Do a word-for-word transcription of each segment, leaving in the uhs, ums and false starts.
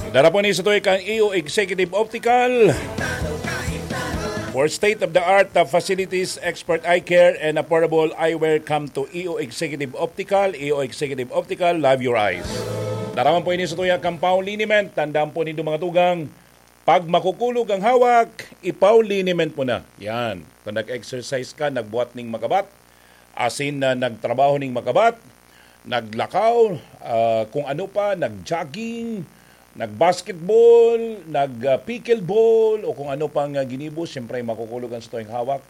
Darapon ni sa tuig ang E O Executive Optical. For state-of-the-art uh, facilities, expert eye care, and affordable eyewear, come to E O Executive Optical. E O Executive Optical, love your eyes. Daraman po ini sa tuya kang Pau Liniment. Tandaan po nindo, mga tugang, pag makukulog ang hawak, ipau liniment mo na. Yan. Kung nag-exercise ka, nagbuhat ning makabat, asin na nagtrabaho ning makabat, naglakaw, ah, kung ano pa, nag-jogging, nag-basketball, nag-pickleball, o kung ano pang ah, ginibo, siyempre makukulog ang sa tuwing hawak,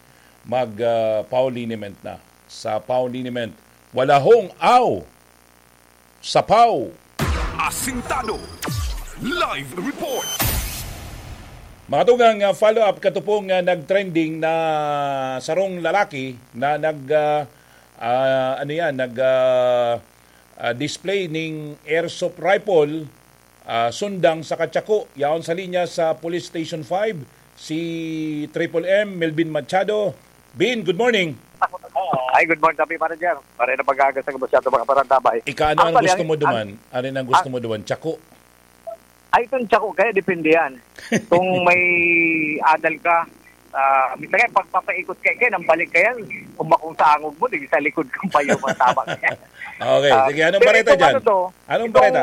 mag ah, pau liniment na. Sa pau liniment, wala hong aw sa pau. Asintado. Live report. Mga tugang, ah, follow-up, katupong ah, nag-trending na sarong lalaki na nag ah, ah, ano yan, nag ah, ah, display ning airsoft rifle, ah, sundang sa katsako. Yaon sa linya sa Police Station five, si Triple M, Melvin Machado. Bin, good morning. Ay, good morning, Tapi Manager. Pare na pag-aagas ng masyado mga parantabay. Ika, ano ang Actually, gusto ang- mo duman? Ano ang gusto mo duman? Tsako? Ay, itong tsako, kaya depende yan. Kung may adal ka, ah, minsan nga, pagpapaikot ka, kaya nang balik ka yan, kung bakong sa angog mo, di sa likod kang payo, ang tama ka yan. Okay, Ah, sige. Anong pero bareta itong dyan? ano to, Anong itong bareta?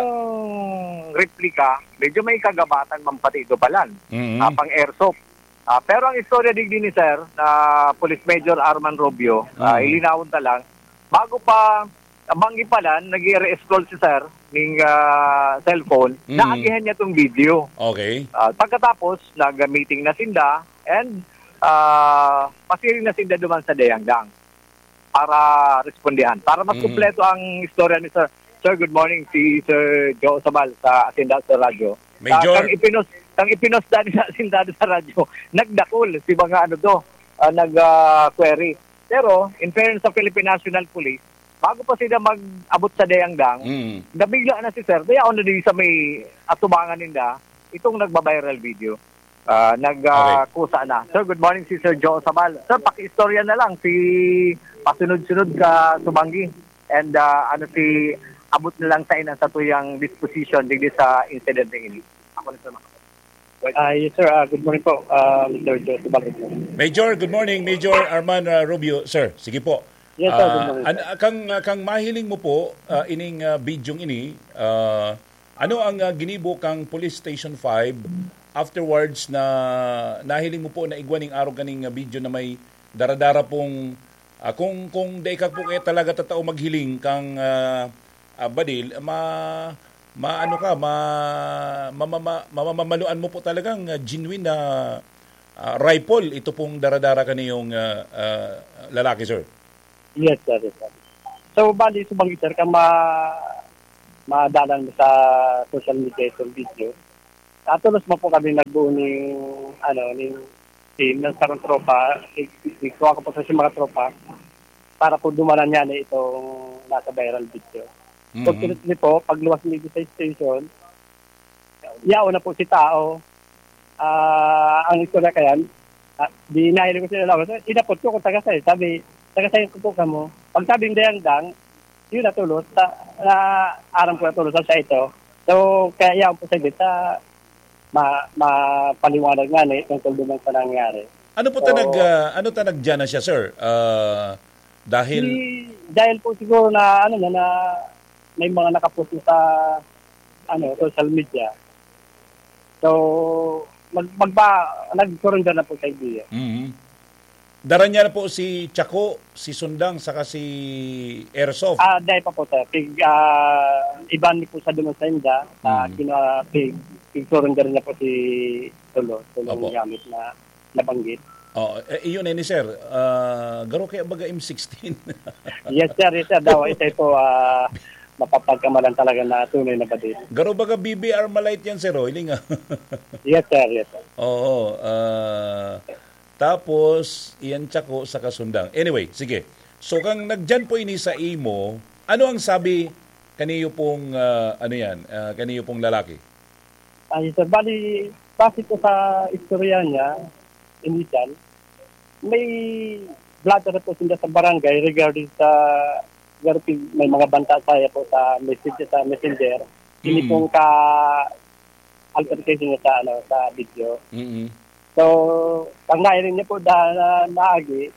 replika, medyo may kagabatan man pati ito palan. Mhm. Ah, pang airsoft. Ah, pero ang istorya digdi ni Sir, na Police Major Arman Rubio, ah, Mhm. ilinawon ta lang, bago pa, banggi palan, nag-i-re-scroll si Sir ning ah, cellphone, Mhm. naagihan niya tong video. Okay. Ah, pagkatapos, nag-meeting na sinda and ah, pasiring na sinda duman sa Dayangdang para respondihan. Para mas Mhm. kumpleto ang istorya ni Sir. Sir, good morning. Si Sir Joe Sabal sa Asinda sa radyo. Major. Ah, kang ipinos, kang ipinos dani sa Asinda sa radyo, nagdakol si mga ano to, ah, nag-query. Pero, in fairness sa Philippine National Police, bago pa sila mag-abot sa Dayangdang, Mm. nabigla na si Sir. Kaya ako na din sa may atubangan ninda, itong nagba-viral video. Ah, nag ah, Okay. kusa na. Sir, good morning, si Sir Joe Sabal. Sir, pakiistorya na lang si pasunod-sunod ka Subanggi. And ah, ano si abot na lang sa inang sa tuyang disposition digdi sa incident na ini. Ako na, Sir Maka. Ah, yes, sir. Ah, good morning po, ah, Mister Joe Sabal. Major, good morning. Major Arman ah, Rubio, sir. Sige po. Yes, sir. Good Ah, morning. an- kang, kang mahiling mo po, ah, ining ah, bidyong ini, ah, ano ang ah, ginibo kang Police Station five afterwards na nahiling mo po na igwa ning arog kaning ah, video na may daradara pong, ah, kung, kung dai ka po kaya talaga tatao maghiling kang ah, ah, badil, ma, ma, ano ka, ma, ma, ma, ma, mamamaluan mo po talagang ah, genuine na ah, rifle ito pong daradara kaniyong ah, ah, lalaki, sir? Yes, sir. Yes, sir. So, bali, Subanggi, sir, ka ma madalan mo sa social media itong video. Atulos mo po kami nagbuo ni, ano, ni team ng sarong tropa. Ig- Igkuha ko po sa mga tropa para po dumanan niya na itong nasa viral video. Mhm. Fortunately po, pagluwas ni sa station, yaon na po si tao. Ah, ang istorya kayan, ah, di nahiling ko sila lawas. Inapot ko kung taga sa'yo. Sabi, taga sa'yo ko po kamo. Pag sabi ng Dayangdang, yun na tulos. Sa, na, aram ko na tulos sa ito. So, kaya yaon po sa bita, ma, mapaliwanag nga ni tungkol naman sa nangyari. Ano po ta nag, Oo. ah, ano ta nagdiyan na siya, sir? Ah, dahil Di, dahil po siguro na, ano na, na may mga nakapost na sa ano, social media. So, mag, magba, nag-surrender na po sa idea. Mhm. Dara niya na po si Chaco, si Sundang, saka si Airsoft. Ah, dahil pa po, sir. Pig, ah, iban ni po sa duman sa inda, sa Mm. kina, pig, pig-surrender na po si Tulo, Tulong Opo. Gamit na nabanggit. Oh, eh, iyon eh ni sir. Ah, garo kaya baga M sixteen. Yes, sir. Yes, sir. Daw, ito po, ah, mapapagkamalan talaga na tunay na badil. Garo baga B B R Malite yan, sir, oh, iling, ah. Yes, sir. Yes, sir. Oo. Ah, tapos, iyan Chaco sa Kasundang. Anyway, sige. So, kang nagdiyan po ini sa imo, ano ang sabi kaniyo pong, ah, ano yan, ah, kaniyo pong lalaki? Ay, sir, bali, base po sa istorya niya, initial, may blotter po sila sa barangay regarding sa, regarding may mga banta saya po sa message sa messenger. Hindi Mm. pong ka, altercation niya sa, ano, sa video. Mm-mm. So, pag nailing niya po da-, na, naagi,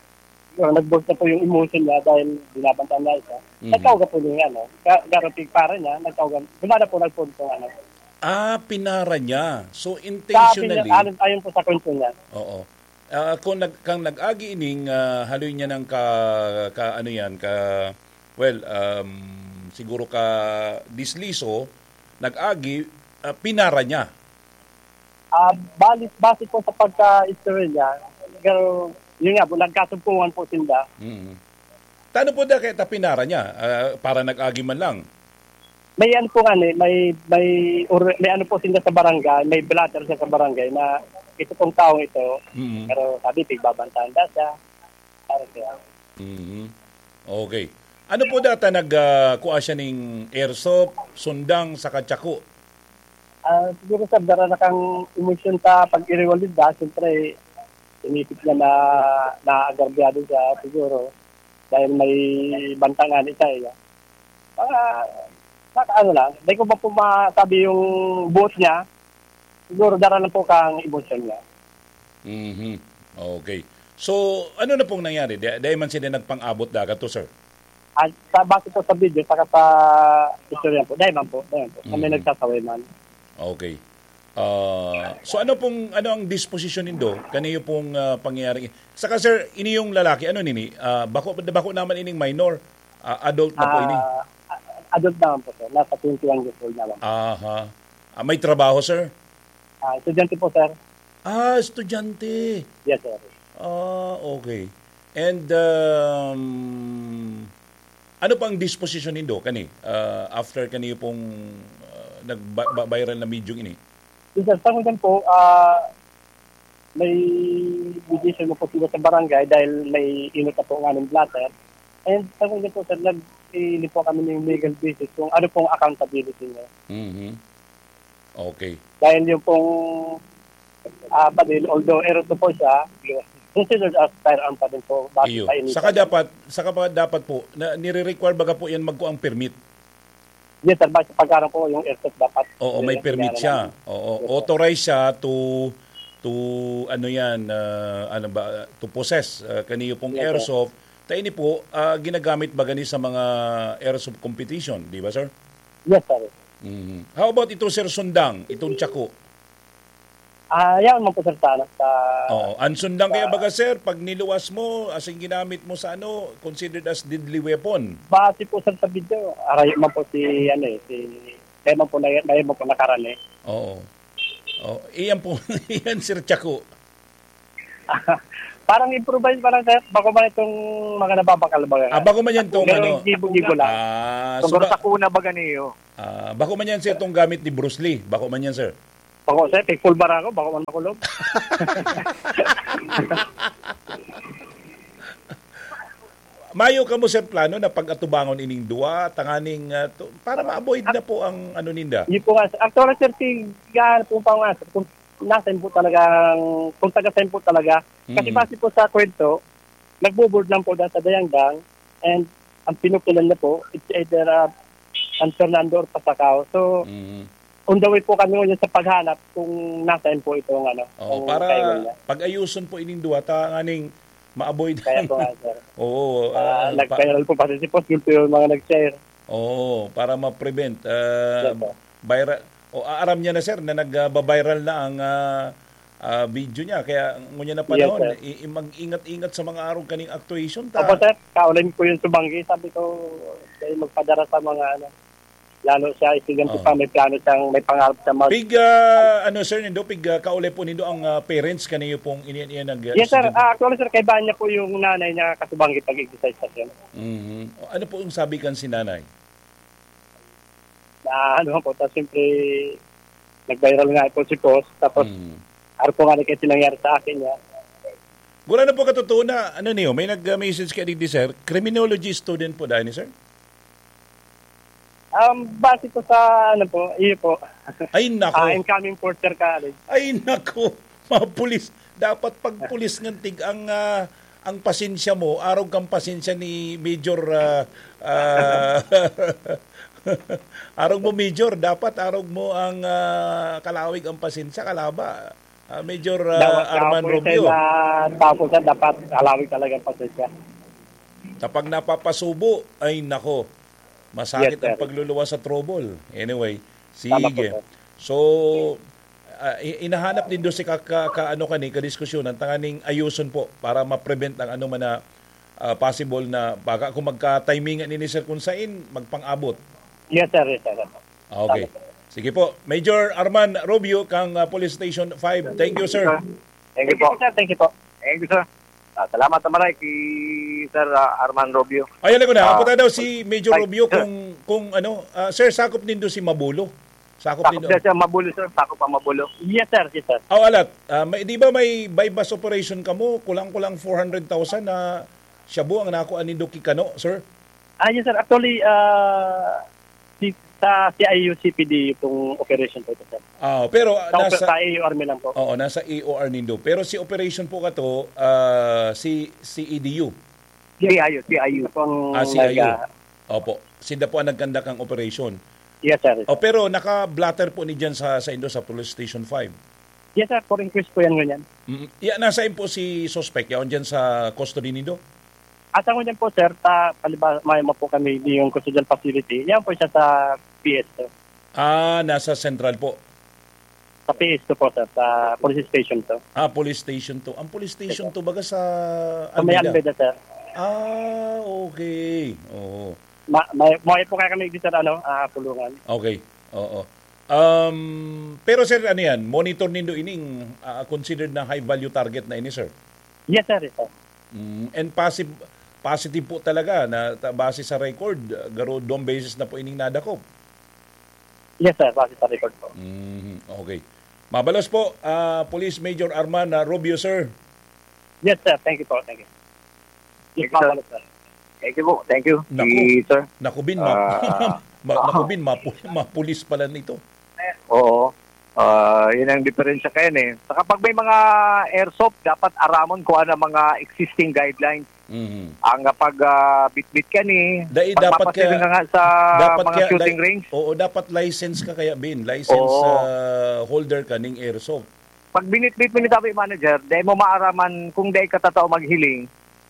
yun, nag-burst na po yung emotion niya dahil binabantaan niya isa. Mhm. Nagkauga po yung, ano, ka-, garo pigpara niya, nagkauga, gumana po, nagpunto, ano. Ah, pinara niya. So, Sa intentionally, ayon, ayon po sa kwento niya. Oo. Ah, kung nag-, kang nag-agi ining, ah, haloy niya ng ka, ka, ano yan, ka, well, um, siguro ka disliso, nag-agi, ah, pinara niya. Ah, bali, base po sa pagka-istorya niya, pero yun nga po, nagkasugpungan po sila. Mm. Tano po da kaya ta pinara niya, ah, para nag-agi man lang? May ano po nga, eh, may, may or-, may ano po sila sa barangay, may blotter siya sa barangay na ito pong taong ito, Mm. pero sabi, pigbabantaan daw siya. Parang kaya. Mhm. Okay. Ano po data nag, ah, kuha siya ning airsoft, sundang, saka tsako? Ah, siguro, sir, dara na kang emosyon sa pag-iriwalid, ah. Siyempre, inisip niya na naagrabyado siya, siguro, dahil may bantangan siya, eh. Mga, mga ano lang, di ko pa po masabi yung buot niya. Siguro, dara lang po kang emosyon niya. Mhm. Okay. So, ano na pong nangyari? Di, di man sila nagpang-abot dagat to, sir? At sa, base po sa video, saka sa istorya po, dai man po, dai man po. Kami Mm. nagsasaway man. Okay. Ah, so ano pong, ano ang disposisyon nindo? Kaniyo pong, ah, pangyayari? Saka, sir, ini yung lalaki, ano nini? Ah, bako, bako naman ining minor. Ah, adult na po ini? Ah, a-, adult naman po, sir. Nasa twenty-one years old naman. Aha. Ah, may trabaho, sir? Ah, estudyante po, sir. Ah, estudyante. Yes, sir. Ah, okay. And, um, ano pang disposisyon nindo kani, ah, after kaniyo pong, ah, nagba-, ba-, viral na video ini? Yes, sir. Sa ngayon po, ah, may mediation na po sila sa barangay dahil may inot na po nga ng blotter. And sa ngayon po, sir, nag-iili po kami ng legal basis kung ano pong accountability niya. Mhm. Okay. Dahil yung pong, ah, baril, although airsoft po siya, considered as firearm pa din po, base Iyo. sa initial. Saka dapat, saka pa dapat po, na, nire-require baga po yan magkuang permit? Yes, sir. Base pagkaroon po yung airsoft dapat. Oo, may Yes, permit kailangan siya. namin. Oo, Yes, sir. authorized siya to, to, ano yan, ah, ano ba, to possess, ah, kaniyo pong Yes, sir. airsoft. Ta ini po, ah, ginagamit ba gani sa mga airsoft competition, di ba, sir? Yes, sir. Mhm. How about ito, Sir Sundang, itong tsako? Ah, yan man po, sir, sana sa Oo. Ang sundang kaya sa baga, sir, pag niluwas mo, as in ginamit mo sa ano, considered as deadly weapon. Base po, sir, sa video, arayo man po si, ano eh, si, kaya man po na, kaya man po nakarani. Oo. Oh, iyan po, iyan, Sir Chaco. Parang improvise pa lang, sir. Bako man itong mga nababakal ba? Ah, bako man yan tong Pero ano. gibo-gibo lang. Ah, so Tungkol ba-, sa kuna ba ganiyo? Ah, bako man yan, sir, itong gamit ni Bruce Lee. Bako man yan, sir. Bako, sir, pigpulbar ako, bako man makulog. Mayo kamo, sir, plano na pag-atubangon ining duwa, tanganing, ah, to, para ma-avoid na po ang ano ninda? Yun po nga, sir. Actually, sir, tig-, ano po pa nga, sir, kung nasa po talagang, kung taga saan po talaga. Kasi Mm. base po sa kwento, nagbo-board lang po dahil sa Dayangdang, and ang pinukilan niya po, it's either, ah, San Fernando or Pasacao. So, Mm. on the way po kami ngayon sa paghanap kung nasaan po itong, ano, Oo, kung para kaiwan niya. pag-ayuson po ining duwa, ta nganing ma-avoid Kaya ang po nga, sir. Oo, Ah, ah, pa- nag-viral po pati si Post, yun po yung mga nag-share. Oo, para ma-prevent, ah, Yes, sir. viral. O, a-, aram niya na, sir, na nag, ah, ba-viral na ang, ah, ah, video niya. Kaya ngunyan na Yes, panahon, sir. i-, i-, mag-ingat-ingat sa mga arog kaning actuation ta. Opo, sir. Kaulay po yung subanggi. Sabi ko, dahil magpadara sa mga, ano, lalo siya, estudyante Oo. pa, may plano siyang, may pangarap siya mag- Pig, ah, ano, sir, nindo, pig, ah, kaulay po nindo ang, ah, parents kaniyo pong ini-, ini-, nag, Yes, sir. estudyante? Ah, actually, sir, kaibahan niya po yung nanay niya kasubanggi pag-exercise pa siya. Mhm. Ano po yung sabi kan si nanay? Na ano po, tapos siyempre, nag-viral nga po si Post, tapos Mm. araw po nga na kasi nangyari sa akin niya. Wala na po katotohanan, ano niyo, may nag-message ka digdi, sir? Criminology student po dahil ni sir? Um, base po sa, ano po, iyo po. Ay, nako. Ah, incoming fourth year college. Ay, nako. Mga pulis. Dapat pag pulis ngan tig ang, ah, ang pasensya mo, arog kang pasensya ni Major, ah, ah, Arog mo, Major, dapat arog mo ang, ah, kalawig ang pasensya, kalaba. Ah, Major, ah, Dapat Arman Rubio. Dapat, sir, dapat kalawig talaga ang pasensya. Kapag napapasubo, ay nako, masakit Yes, ang sir. pagluluwas sa trouble. Anyway, Tama po, sige. sir. So, ah, i-, inahanap din doon si ka, ka, ka, ano ka ni, kadiskusyon, ang tanganing ayuson po para ma-prevent ang ano man na, ah, possible na baka kung magka-timingan ni Sir Kunsain, magpang-abot. Yes, sir. Yes, sir. Okay. Sige po. Major Arman Rubio kang, ah, Police Station five. Thank you, sir. Thank you po, sir. Thank you po. Thank you, sir. Ah, salamat na maray kay Sir, ah, Arman Rubio. Ayan ako na. Ah, Apo tayo daw si Major ay, Rubio sir. kung, kung ano, ah, sir, sakop nindo si Mabulo. Sakop Sakop nindo. Siya, sir, Mabulo, sir. Sakop ang Mabulo. Yes, sir. Yes, sir. Oh, alat. Ah, may, di ba may buy-bust operation kamo? Kulang-kulang four hundred thousand na shabu ang nakuha nindo ki Kano, sir? Ah, yes, sir. Actually, ah, si, sa C I U C P D itong operation po ito, sir. Ah, pero, ah, Sa, nasa sa A U R mi lang po. Oo, nasa A O R nindo. Pero si operation po kato, ah, si C E D U. C I U, C I U pong Ah, C I U. nag-, ah, Opo. Sinda po ang nagkandak ang operasyon. Yes, sir. Oh, pero naka-blotter po ni dyan sa, sa indo sa Police Station five. Yes, sir. For inquest po yan ngunyan. Mm. Ya, nasaan po si suspect? Yaon dyan sa custody nindo? Asa ngunyan po, sir, ta, paliba, may mo po kami di yung custodial facility. Yan po siya sa P S, sir. Ah, nasa central po. Sa P S to po, sir. Sa police station to. Ah, police station to. Ang police station Ito. to, baga sa Sa may Almeda. Almeda, sir. Ah, okay. Oo. Ma-, may, may po kaya kami dito sa, ano, ah, kulungan. Okay. Oo. Um, pero sir, ano yan? Monitor nindo ining, ah, considered na high value target na ini, sir? Yes, sir. Yes, sir. Mm, and posi-, positive po talaga na ta-, base sa record, ah, garo dong beses na po ining nadakop. Yes, sir. Base sa record po. Mhm, okay. Mabalos po, ah, Police Major Arman, ah, Rubio, sir. Yes, sir. Thank you po. Thank you. Yes, Thank you, sir. mabalos, sir. Thank you po. Thank you. Naku. Si sir. Naku, Bin, ma-, Ah. ma-, naku, Bin, mapu-, mapulis pala nito. Oo. Ah, yun ang diferensya kayan eh. Sa kapag may mga airsoft, dapat aramon kung ano ang mga existing guidelines. Mhm. Ang kapag, ah, bitbit ka ni, Dai, pag dapat mapasig kaya, ka nga sa dapat mga kaya shooting li-, range. oo, dapat license ka kaya, Bin. License, Oo. ah, holder ka ning airsoft. Pag binitbit mo ni Tabi Manager, dai mo maaraman kung dai ka tatao maghiling,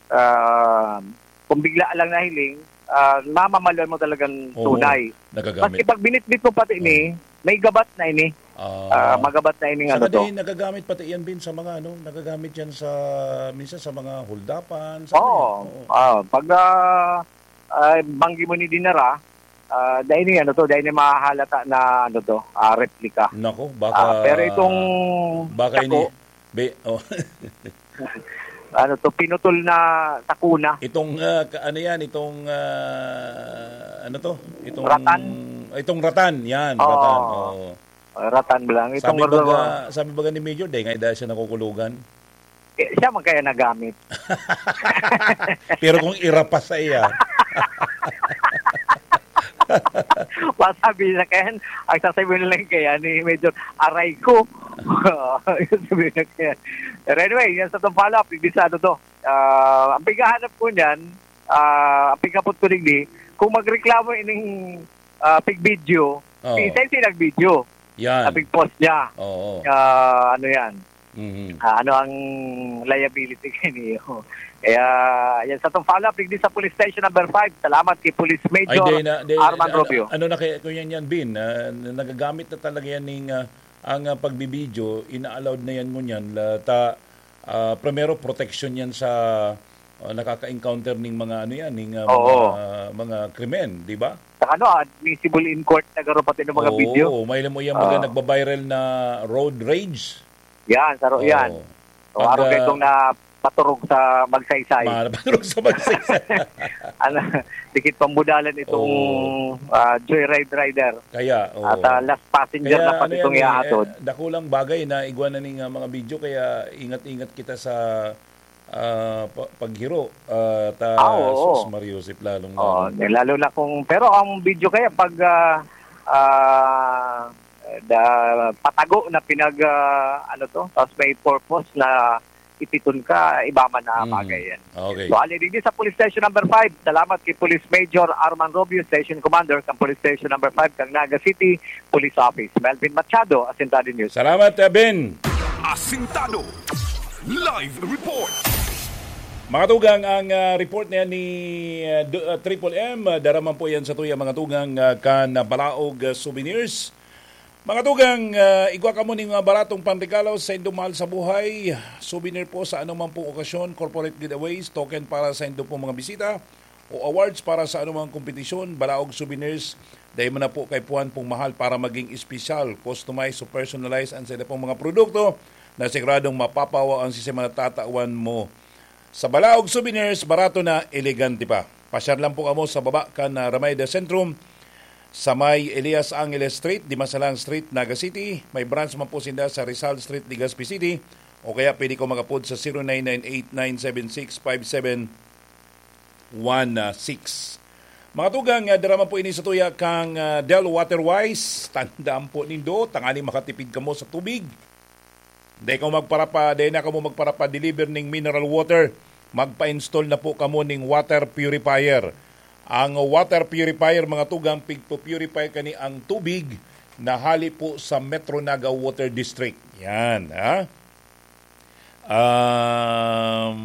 ah, kung bigla lang nahiling, ah, mamamaluan mo talagang Oo, tunay. nagagamit. Maski pag binitbit mo pati ni, Oo. may gabat na ini. Ah. Ah, magabat na ini nga Saka ano to. din, nagagamit pati yan, Bin, sa mga ano, nagagamit yan sa, minsan sa mga holdapan, sa Oo. ano yan. Oo. Ah, pag, ah, ah, banggi mo ni dinara, ah, dai ni ano to, dai ni mahahalata na ano to, ah, replika. Nako, baka, Ah, pero itong baka ini, sako, be-, oh. ano to, pinutol na sakuna. Itong, ah, ka-, ano yan, itong, ah, ano to? Itong, Ratan? itong ratan, yan, Oo. ratan. Oo. Ah, ratan lang. Itong Sabi baga, sabi baga ni Major, dai nga dahil siya nakukulugan. Eh, siya man kaya nagamit. Pero kung irapas sa iya. Masabi na kaya, ang sasabihin lang kaya ni Major, "Aray ko." Yung sabi na kaya. Pero anyway, yan sa itong follow-up, hindi sa ano to. Ah, ang pighahanap ko niyan, ah, ang pighapot ko digdi, kung magreklamo ining, ah, pig-video, Oo. si Sensi nag-video, Yan. ang pig-post niya. Oo. Ah, ano yan? Mhm. Ah, ano ang liability kaniyo? Kaya, yan sa itong follow-up, digdi sa Police Station number five. Salamat kay Police Ay, Major di na, di, Arman ano, Rubio. ano na kaya, kung yan, yan, Bin, ah, nagagamit na talaga yan ning, ah, ang, ah, pagbibidyo, ina-allowed na yan ngunyan, la, ta, ah, primero, protection yan sa, ah, nakaka-encounter ning mga, ano yan, ning, ah, Oo. mga, mga krimen, di ba? Saka ano, admissible in court na garo pati ng mga Oo, video. may alam mo yan, mga Ah. nagbabiral na road rage. Yan, saro Oo. yan. So, Pag, araw kayo ah, itong na paturog sa Magsaysay. Mga napaturog sa Magsaysay. Ano, dikit pambudalan itong, Oo. ah, joyride rider. Kaya, oo. At, ah, last passenger Kaya, na pati ano itong yan eh, ihahatod. eh, dakulang bagay na igwa na ning, ah, mga video, kaya ingat-ingat kita sa, ah, pa-, paghiro, ah, ta Ah, oo. sus, Mario Joseph, lalong Oo, lalo. eh, lalo na kung, pero ang video kaya pag, ah, ah, da-, patago na pinag, ah, ano to, tapos may purpose na ipiton ka, iba man na bagay yan. Okay. So, ali digdi sa Police Station Number five, salamat kay Police Major Arman Rubio, Station Commander kan Police Station Number five kan Naga City Police Office. Melvin Machado, Asintado News. Salamat, uh, Ben. Asintado. Live report. Mga tugang, ang, ah, report na yan ni, ah, Du- ah, Triple M, ah, dara man po yan sa tuya, mga tugang, ah, kan, ah, Balaog, ah, Souvenirs. Mga tugang, ah, igwa kamo ning mga baratong panregalo sa indong mahal sa buhay. Souvenir po sa anumang pong okasyon, corporate giveaways, token para sa indong pong mga bisita, o awards para sa anumang kompetisyon, Balaog Souvenirs. Dai mo na po kaipuhan pong mahal para maging espesyal, customize o personalize ang sa ila pong mga produkto na siguradong mapapawaw ang sistema na tatawan mo. Sa Balaog Souvenirs, barato na, elegante pa. Pasyar lang po kamo sa baba kan, ah, Ramay de Centrum, sa may Elias Angeles Street, Dimasalan Street, Naga City. May branch man po sinda sa Rizal Street, Legazpi City. O kaya pwede ko mag-apod sa zero nine nine eight nine seven six five seven one six. Mga tugang, ah, dara man po ini sa tuya kang, ah, Del Waterwise. Tandaan po nindo, tanganing makatipid kamo sa tubig. Dai kamo magparapa-, dai na kamo magparapa-deliver ning mineral water. Magpa-install na po kamo ning water purifier. Ang water purifier, mga tugang, pigpo-purify kani ang tubig na hali po sa Metro Naga Water District. Yan, ha? Um,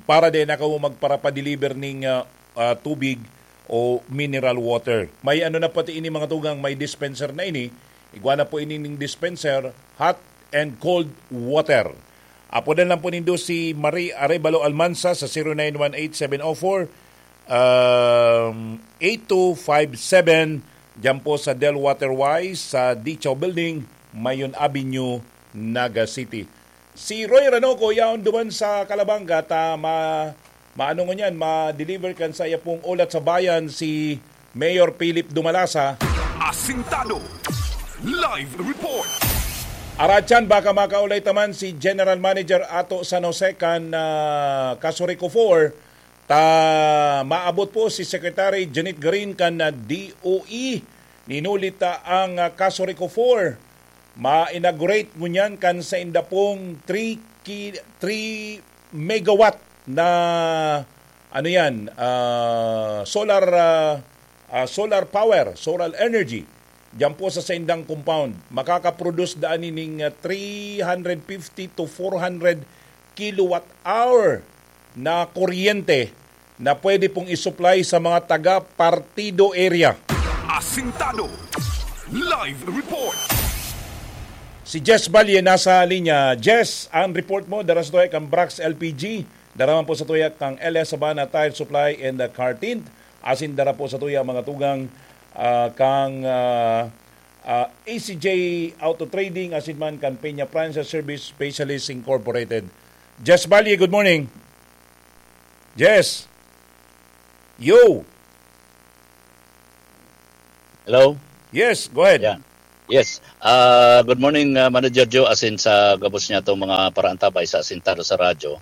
para din ako magparapa-deliver ning, ah, ah, tubig o mineral water. May ano na pati ini, mga tugang, may dispenser na ini. Igwa na po ini ning dispenser, hot and cold water. Apodan lang po nindo si Marie Arevalo Almansa sa zero nine one eight seven oh four, um, eight two five seven, diyan po sa Del Waterwise, sa Dicho Building, Mayon Avenue, Naga City. Si Roy Ranoco yaon duman sa Calabanga ta ma-, maano ngunyan, ma-deliver kan sa iya pong ulat sa bayan si Mayor Philip Dumalasa. Asintado. Live report. Aratyan, baka makaulay taman si General Manager ato San Jose kan, ah, Casureco four, ta maabot po si Secretary Janet Garin kan, ah, D O E. Ninuli ta ang, ah, Casureco four. Ma-inaugurate ngunyan kan sainda pong three ki-, three megawatt na, ano yan, ah, solar, ah, ah, solar power, solar energy. Diyan po sa saindang compound, makakaproduce daan nining, ah, three hundred fifty to four hundred kilowatt hour na kuryente na pwede pong isupply sa mga taga Partido area. Asintado. Live report. Si Jess Valle nasa linya. Jess, ang report mo, dara sa tuya kang Brax L P G, dara man po sa tuya kang L S Sabana Tire Supply and the Car Tint, asin dara po sa tuya mga tugang, ah, kang, ah, ah, A C J Auto Trading, asin man kan Peña Francia Service Specialist Incorporated. Jess Valle, good morning. Jess. Yo. Hello? Yes, go ahead. Yan. Yes. Ah, good morning, ah, Manager Joe, asin sa gabos niya itong mga paraantabay sa Asintado sa Radyo.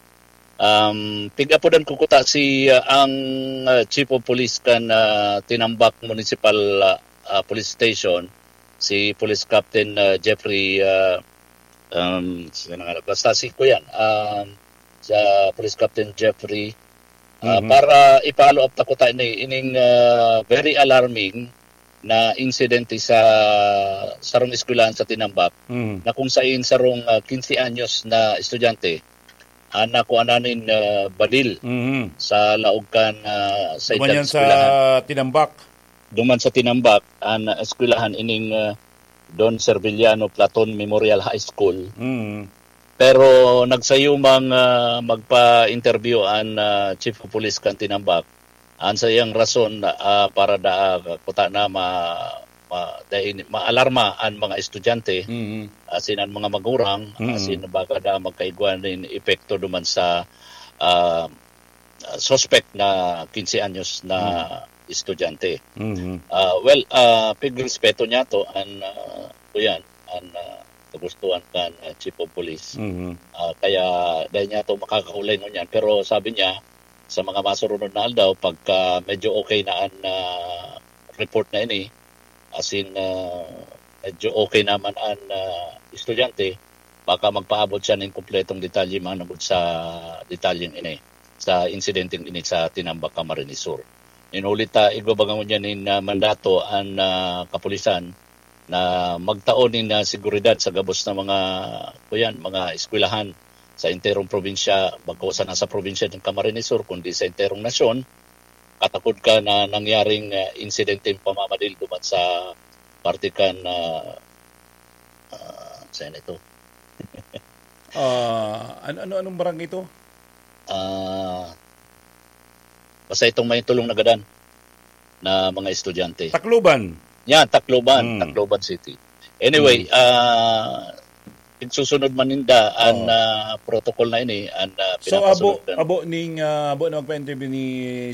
Um, pigapodan ko kuta si, ah, ang, ah, Chief of Police kan, ah, Tinambac Municipal, ah, ah, Police Station, si Police Captain, ah, Jeffrey, ah, um, sino nga, basta si Kuyan, um, sa Police Captain Jeffrey, ah, Mhm. para i-follow up ta kuta ini, ining, ah, very alarming na insidente sa sarong eskwelahan sa Tinambac Mhm. na kung sain sarong, ah, quince anyos na estudyante an nakuanan nin, ah, baril Mhm. sa laog kan, ah, sa Duman itan yan sa eskwelahan. Tinambac. Duman sa Tinambac, an eskwelahan ining, ah, Don Serviliano Platon Memorial High School. Mhm. Pero nagsayo mang, ah, magpa-interview an, ah, Chief of Police kan Tinambac. An saiyang rason, ah, para da, kuta na ma-, ma-, dai ni, maalarma an mga estudyante, Mhm. asin an mga magurang, Mhm. asin baka da magkaigwa nin epekto duman sa, ah, suspect na quince anyos na Mhm. estudyante. Mhm. Ah, well, ah, pigrespeto niya to an, ah, kuyan, an, ah, kagustuhan kan, ah, Chief of Police. Mhm. Ah, kaya dai niya to makakaulay ngunyan. Pero sabi niya, sa mga masurunod na aldaw, pagka medyo okay na an, ah, report na ini, asin, ah, medyo okay naman an, ah, estudyante, baka magpaabot siya nin kumpletong detalye managod sa detalyeng ini, sa insidenteng ini sa Tinambac, Camarines Sur. Nin huli ta, igwa baga ngunyan nin, ah, mandato an, ah, kapulisan na magtao nin, ah, seguridad sa gabos na mga, kuyan, mga eskwelahan sa enterong probinsya, bako sana sa probinsya ng Camarines Sur, kundi sa enterong nasyon. Katakod ka na nangyaring, ah, insidenteng pamamadil duman sa parte kan, ah, ah, saan ito? Ah, ano, ano, anong barangay ito? Ah, basta itong may tulong nagadan na mga estudyante. Tacloban. Yan, Tacloban, Hmm. Tacloban City. Anyway, Hmm. ah, igsusunod man ninda an Oo. ah, protocol na ini, an ah, So, abo, pinapasunod kan- abo ning, ah, abo na magpa-interview ni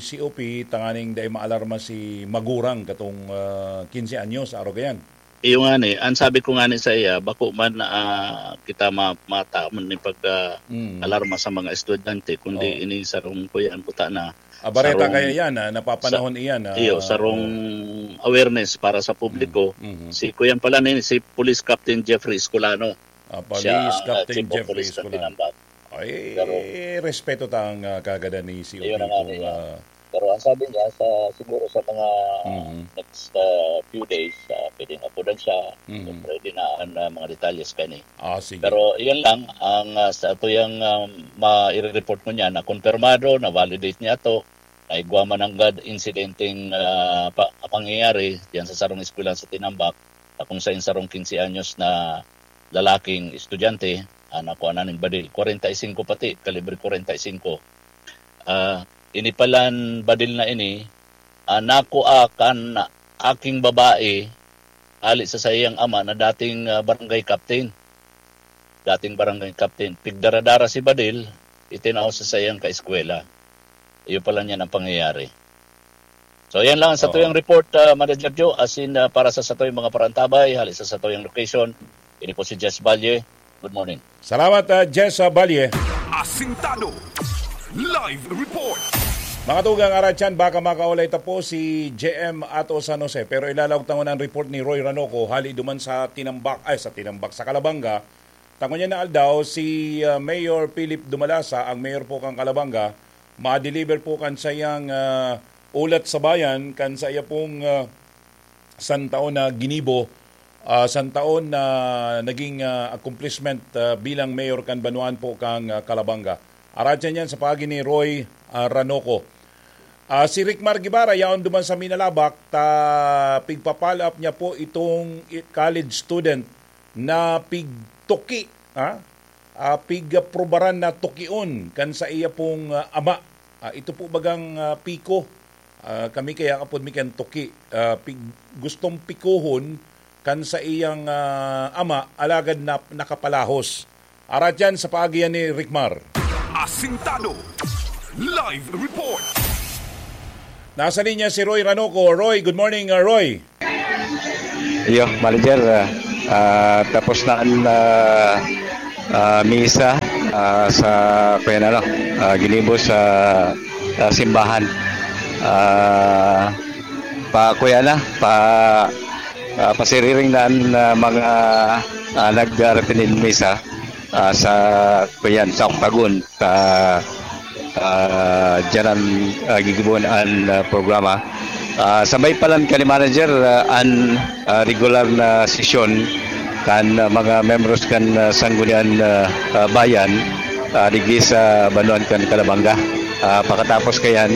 C O P, tanganing dai maalarma si magurang katong, ah, quince anyos, aro gayan. Iyo nga ni, ang sabi ko nga ni sa iya, bako man ah, kita ma mata man ni pag ah, Mm. alarma sa mga estudyante, kundi Oo. ini sarong kuya ang buta na Abareta sarong- kaya yan, ah, napapanahon iyan. Ah, iyo, sarong awareness para sa publiko. Mhm. Si kuyan pala ni si Police Captain Jeffrey Escolano. Ah, Police Siya ang ah, Captain Chief of Jeffrey Police ng Escolano. Tinambac. Ay, Pero- respeto ta ang ah, kagada ni C O P Iyon na nga kung, nila. ah, Pero ang sabi niya, sa siguro sa mga Mhm. next ah, few days, ah, pwede na po lang siya. Mhm. Pwede na ang ah, mga detalyes kani. Ah, sige. Pero iyan lang, ang ah, sa atuyang ah, ma-report mo niya na kumpirmado, na-validate niya to, na igwa man nanggad insidenteng ah, pa, pangyayari diyan sa sarong eskwela sa Tinambac, na kung saan sarong quince anyos na lalaking estudyante, ah, nakuha na ning badil, kwarenta y singko pati, kalibre kwarenta y singko. Ah, ini palan badil na ini, ah, nakuha kan aking babae hali sa saiyang ama na dating ah, barangay captain. Dating barangay captain. Pigdara-dara si badil, itinao sa saiyang kaeskwela. Iyo pala niyan ang pangyayari. So, yan lang sa Oo. tuyang report, ah, Manager Joe. As in, ah, para sa satoy mga parantabay, hali sa satoyang location, ini po si Jess Valle. Good morning. Salamat, ah, Jess ah, Valle. Asintado. Live report. Mga tugang, aratyan, baka makaulay ta po si J M ato San Jose. Pero ilalaog tangon ang report ni Roy Ranoco, hali duman sa Tinambak, ay, sa Tinambak, sa Calabanga. Tangon niya na aldaw, si ah, Mayor Philip Dumalasa, ang mayor po kang Calabanga, ma-deliver po kan sayang ah, ulat sa bayan, kan saya pong ah, santaon na ginibo, ah, santaon na naging ah, accomplishment ah, bilang mayor kan banwaan po kang ah, Calabanga. Aratyan yan sa paagi ni Roy ah, Ranoco. Ah, si Rick Mar Guevara, yaon duman sa Minalabac, ta pigpa-follow up niya po itong i- college student na pigtuki, ha? Ah, pigprubaran na tukion kan sa iya pong ah, ama. Ah, ito po bagang ah, piko. Ah, kami kaya kapod mi kan tuki. Ah, pig, gustong pikuhon kan sa iyang ah, ama, alagad na nakapalahos. Aratyan sa paagi yan ni Rick Mar. Asintado. Live report. Nasa linya si Roy Ranoco. Roy, good morning, uh, Roy. Iyo, manager, ah, ah, tapos na ang ah, ah, misa ah, sa kuya na, ano, ah, ginibo sa ah, simbahan. Ah, pa kuya na, pa ah, pasiriring na ang ah, mga ah, nag-attend misa ah, sa kuyan sa Octagon. Sa ah, dyan ang ah, gigibuan ang ah, programa. Ah, sabay palan kan manager ah, ang ah, regular na sesyon kan ah, mga membros kan ah, Sanggunian ah, ah, Bayan ah, digdi sa Banwaan kan Calabanga. Ah, pakatapos kayan,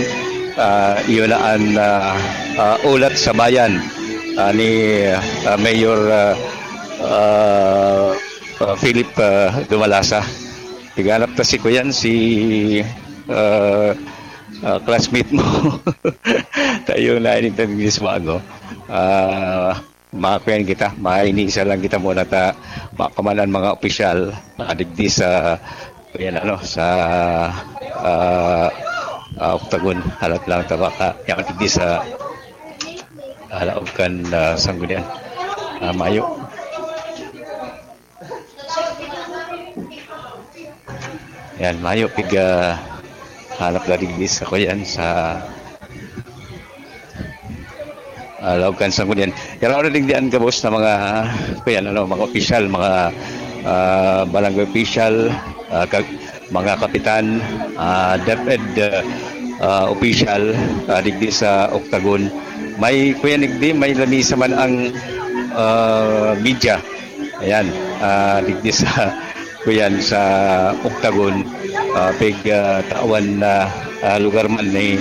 ah, iyon na ang ah, ah, ulat sa bayan ah, ni ah, Mayor ah, ah, ah, Philip ah, Dumalasa. Tiganap ta si Kuyan, si ah, ah, classmate mo. Tayo na ini tagis bago. Ah, makuyan kita, mainisa lang kita muna ta mapaman ang mga opisyal ah, digdi sa yan ano sa ah, ah, Octagon, halat lang ta baka yan digdi sa alaog kan ah, Sanggunian. Ah, mayo. Yan, mayo piga hanap na digdi sa kuyan sa ah, laog kan Sanggunian. Yan ang digdi ang gabos na mga kuyan, ano, mga opisyal, mga ah, barangay official, ah, kag-, mga kapitan, ah, DepEd, ah, ah, official, ah, digdi sa Octagon. May, kuya, digdi, may lamisa man ang, ah, media. Ayan, ah, digdi sa, kuyan, sa Octagon, ah, pig, ah, tawan na, ah, lugar man ni,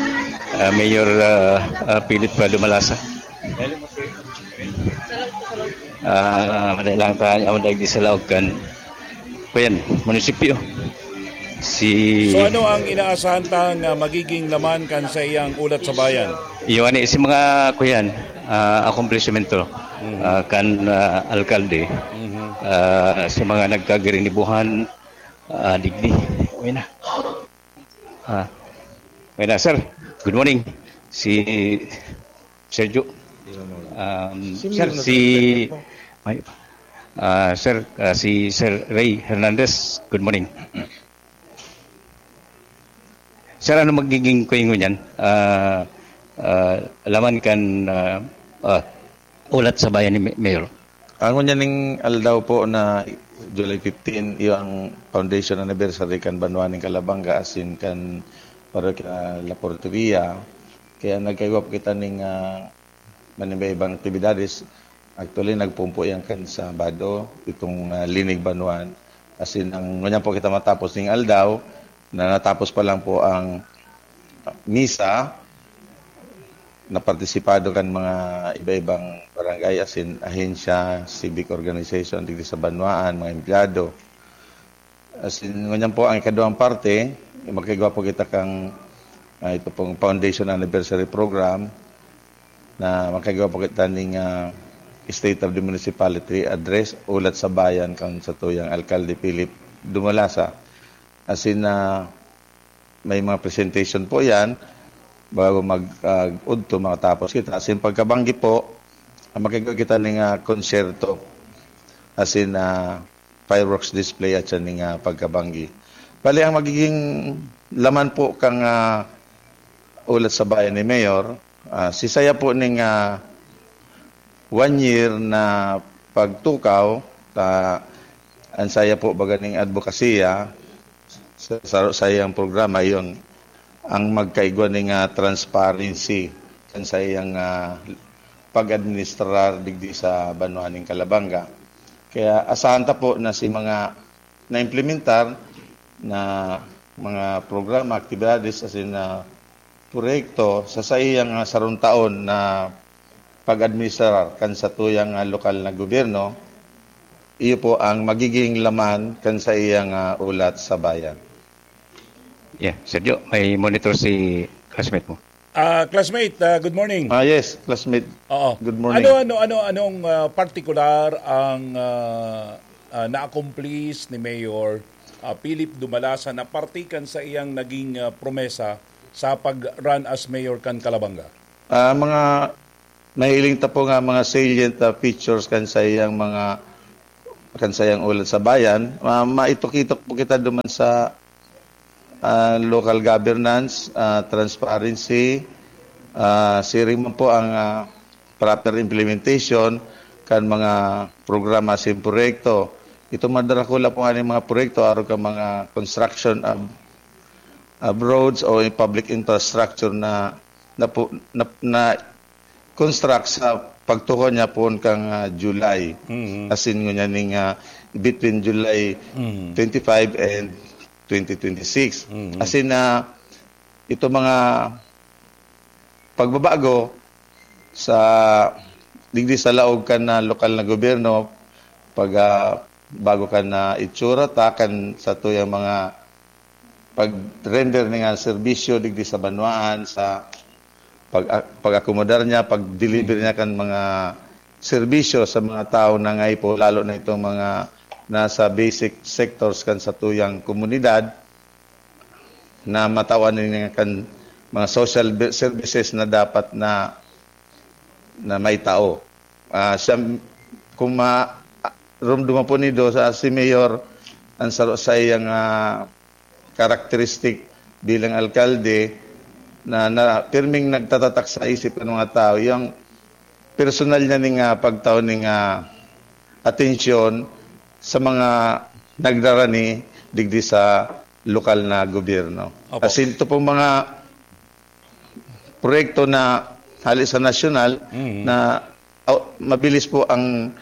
ah, Mayor, ah, ah, Philip Dumalasa. Ah, madali lang tayo, ang digdi sa laog kan, kuyan, munisipyo. Si So, ano ang inaasahan tang, ah, magiging laman kan saiyang ulat sa bayan? Iyo, ani, si mga, kuyan, ah, akomplishmento, Mhm. ah, kan, ah, alkalde, Mhm. ah, si mga nagkagirinibuhan, ah, digdi. Uy na. Ah, uy na, sir. Good morning. Si Sergio. Um, Sino sir, yung si, nasa internet mo? May, ah, sir, ah, si Sir Ray Hernandez. Good morning. Sir, ano magiging kuingon niyan? Ah, ah, laman kan, ah, ah, ulat sa bayan ni Ma-, Mayor? Ang ngunyan ning aldaw po na July fifteen, iyo ang foundation anniversary kan Banwa ning Calabanga, asin kan Parokya La Porteria. Kaya nagkaigwa po kita ning, ah, manibaibang aktibidades. Actually, nagpumpo yan kan Sabado, itong, ah, Linig Banwaan. Asin, ang ngunyan po kita matapos ning aldaw, na natapos pa lang po ang misa, napartisipado kan mga iba-ibang barangay, asin ahensya, civic organization, digdi sa banwaan, mga empleyado. Asin, ngunyan po, ang ikaduhang parte, magkaigwa po kita kang, ah, ito pong foundation anniversary program na magkaigwa po kita ning, ah, State of the Municipality Address, ulat sa bayan kan satuyang Alkalde Philip Dumalasa. Asin, ah, may mga presentation po yan bago mag, ah, udto, makatapos kita. Asin pagkabanggi po, ah, magkaigwa kita ning, ah, konsyerto. Asin, ah, fireworks display at siya ning, ah, pagkabanggi. Bali, ang magiging laman po kang, ah, ulat sa bayan ni Mayor, ah, si saya po ning, ah, one year na pagtukaw, ta, ang saya po baga ning advokasya sa, sa, sa iyang programa, yung ang magkaigwa ning, ah, transparency kan sa iyang, ah, pag-administrar digdi sa banwa ning Calabanga. Kaya asahan ta po na si mga naimplementar na mga programa, aktibidades, asin na proyekto sa saiyang, ah, sarong taon na pag-administrar kan satuyang, ah, lokal na gobyerno, iyo po ang magiging laman kan saiyang, ah, ulat sa bayan. Yeah, Sergio, may monitor si classmate mo. Ah, classmate, ah, good morning. Ah, yes, classmate. Oo. Good morning. Ano, ano, ano, anong, ah, partikular ang, ah, ah, na-accomplish ni Mayor, ah, Philip Dumalasa na parte kan sa iyang naging, ah, promesa sa pag-run as mayor kan Calabanga? Ah, mga nahiling ta po nga mga salient, ah, features kan sa iyang mga, kan sa iyang ulat sa bayan. Ma-, maitok-itok po kita duman sa, ah, local governance, ah, transparency, ah, siring man po ang, ah, proper implementation kan mga programa sin proyekto. Itong mga darakula po nga ning mga proyekto, arog kan mga construction of, of roads o public infrastructure na, na, po, na, na construct sa pagtukaw niya poon kang, ah, July. Mhm. Asin ngunyan ning, ah, between July Mhm. twenty-five and twenty twenty-six. Mhm. Asin na ito mga pagbabago sa digdi sa laog kan, ah, lokal na gobyerno, pag, ah, bago kan, ah, itsura ta kan satuyang mga pag-render ning, ah, serbisyo digdi sa banwaan, sa pag-, pag-akomodar niya, pag-deliver niya kan mga serbisyo sa mga tawo na nangangaipo, lalo na itong mga nasa basic sectors kan satuyang komunidad na matawan niya kan mga social be-, services na dapat na, na maitao. Ah, siya, kung ma-, rumduman po nindo, sa si Mayor, ang saro sa iyang, ah, karakteristik bilang alkalde na, na pirming nagtatatak sa isip ng mga tao, yung personal niya ning, ah, pagtao ning, ah, atensyon sa mga nagrarani digdi sa lokal na gobyerno. Opo. Asin ito pong mga proyekto na hali sa nasyonal Mhm. na, oh, mabilis po ang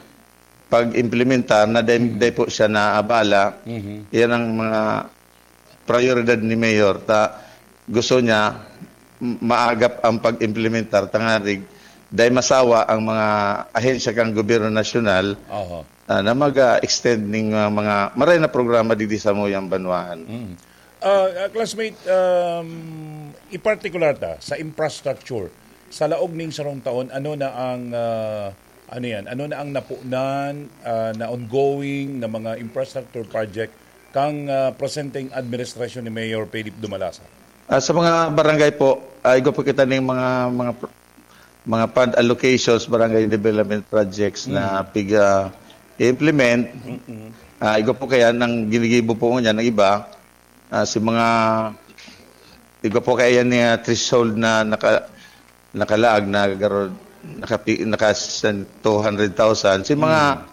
pag-implementar na dahil, Mhm. dahil po siya naabala. Mhm. Yan ang mga prioridad ni Mayor. Ta, gusto niya m-, maagap ang pag-implementar tangarig dahil masawa ang mga ahensya kang gobyerno nasyonal Oho. ah, na mag-extend ning, ah, mga maray na programa digdi sa muyang banwaan. Mm. Ah, ah, classmate, um, in particular ta, sa infrastructure, sa laog ning sarong taon, ano na ang, ah, ano yan? Ano na ang napunan, ah, na ongoing na mga infrastructure project kang, ah, presenteng administrasyon ni Mayor Philip Dumalasa? Ah, sa mga barangay po, ah, igwa po kita ning mga, mga pr-, mga fund allocations, barangay development projects na Mm. piga-implement. Mm-mm. Ah, igwa po kaya nang ginigibo po niya ng iba, ah, si mga, igwa po kaya yan niya threshold na naka-, nakalaag na garo-, nakapi-, naka two hundred thousand. Si mga, Mm.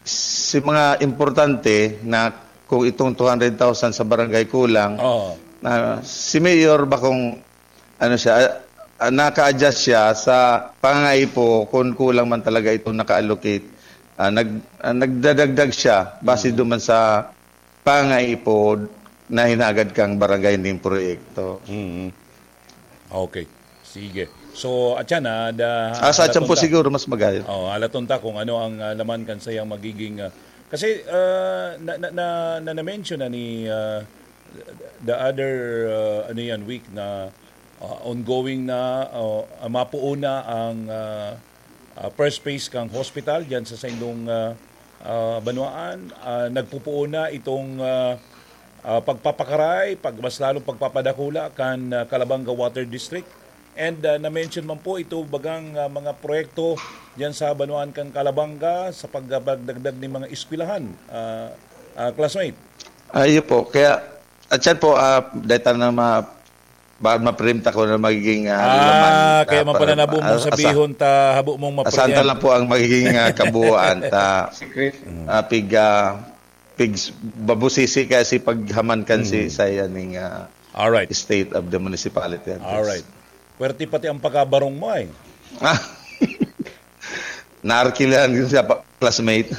si mga importante na kung itong two hundred thousand sa barangay kulang, Oo. na si Mayor ba kung ano siya, ah, naka-adjust siya sa pangangaipo kung kulang man talaga itong naka-allocate. Ah, nag-, ah, nagdadagdag siya base Mm. duman sa pangangaipo na hinagad kang barangay ning proyekto. Mm. Okay. Sige. So, atyan, ah, da-, Ah, sa atyan po halaton ta. siguro mas magayon. Oh, halaton ta kung ano ang, ah, laman kan sayang magiging, ah, kasi, ah, na, na, na, na, na-mention na ni, ah, the other, ah, ano yan, week na, ah, ongoing na, oh, ah, mapuo na ang, ah, ah, first phase kang hospital diyan sa saindong, ah, ah, banwaan. Ah, nagpupuo na itong, ah, ah, pagpapakaray, pag-, mas lalong pagpapadakula kan, ah, Calabanga Water District. And, ah, na-mention man po ito bagang, ah, mga proyekto diyan sa banwaan kan Calabanga sa pagdagdag nin mga eskwelahan, ah, ah, classmate. Ayun po. Kaya, at yan po, ah, dahil tayo na ma-, ba-, ma-preempt ako na magiging, ah, Ah, laman, kaya ah, man pala para, nabo mong ah, asa-, sabihon ta, habo mong asahan ta mapreempt. lang po ang magiging, ah, kabuuan ta, Secret. ah, pig, ah, pigs-, babusisi kasi paghaman kan si Mm. sa yaning, ah, Alright. state of the municipality. Alright. Puwerte pati ang pagkabarong mo, eh. Ah. Naarkilan yun sa pa-, classmate.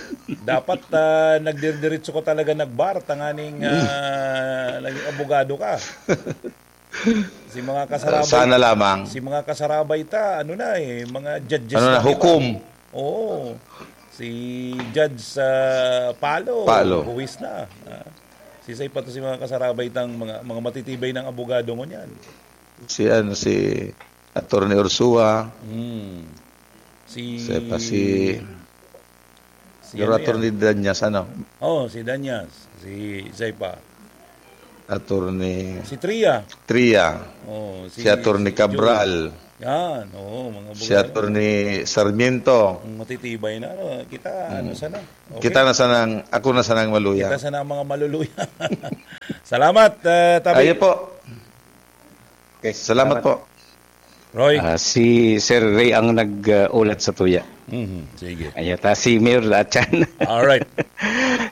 Dapat, ah, nagdidiretso ka talaga nagbar, tanganing, ah, naging abogado ka. Si mga kasarabay, Sana lamang. si mga kasarabay ta, ano na eh, mga judges Ano na, na kita. hukom. Oo. Si Judge, ah, Palo, Palo. buwis na. Ah, sisay pa to si mga kasarabay tang mga, mga matitibay ng abogado ngunyan. Si ano, si Attorney Ursua. Hmm. Si Isa pa si si Pero ano yan? Attorney Danyas, ano? Oh, si Danyas. Si, isa pa. Attorney Si Tria. Tria. Oh, si, Si Attorney si Joel. Cabral. Yan, oo, mga Si abogado. Attorney Sarmiento. Ang matitibay na, ano, kita, Mm. ano sana? Okay. Kita na sanang, ako na sanang maluya. Kita sana ang mga maluluya. Salamat, eh, Tabi. Ayun po. Okay, Salamat salamat. po. Roy. Ah, si Sir Ray ang nag-ulat sa tuya. Mhm, sige. Ayan, ta si Mayor Lachan. Alright.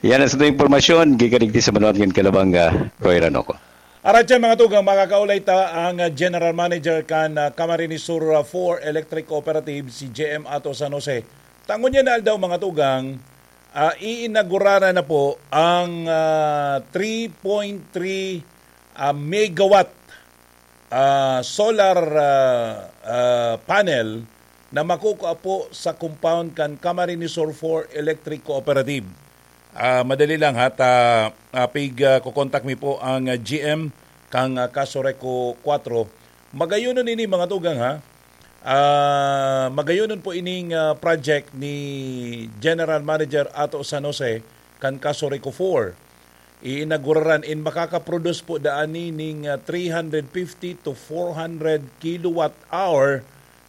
Yan ang sa impormasyon. Gikan digdi sa Manuan ngin Kalabanga, Roy Ranoco. Arat yan, mga tugang, makakaulay ta ang, ah, General Manager kan, ah, Camarines Sur, ah, four Electric Cooperative, si J M Ato San Jose. Tangon niya na aldaw, mga tugang, ah, iinagurara na po ang, ah, three point three, ah, megawatt, ah, solar, ah, ah, panel na makukua po sa compound kan Camarines Sur four Electric Cooperative. Ah, madali lang ha, ta, ah, pig, ah, kukontak mi po ang, ah, G M kang, ah, Casureco four. Magayonon ini, mga tugang, ha. Ah, magayonon po ining, ah, project ni General Manager Ato San Jose kan Casureco four. Iinaguraran in makakaproduce po daan ni ning, ah, three hundred fifty to four hundred kilowatt hour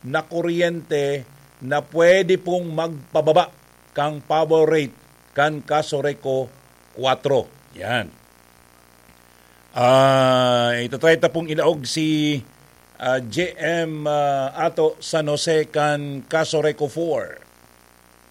na kuryente na pwede pong magpababa kang power rate kan Casureco four. Yan. Ah, itatry ta pong ilaog si, ah, J M, ah, Ato San Jose kan Casureco four.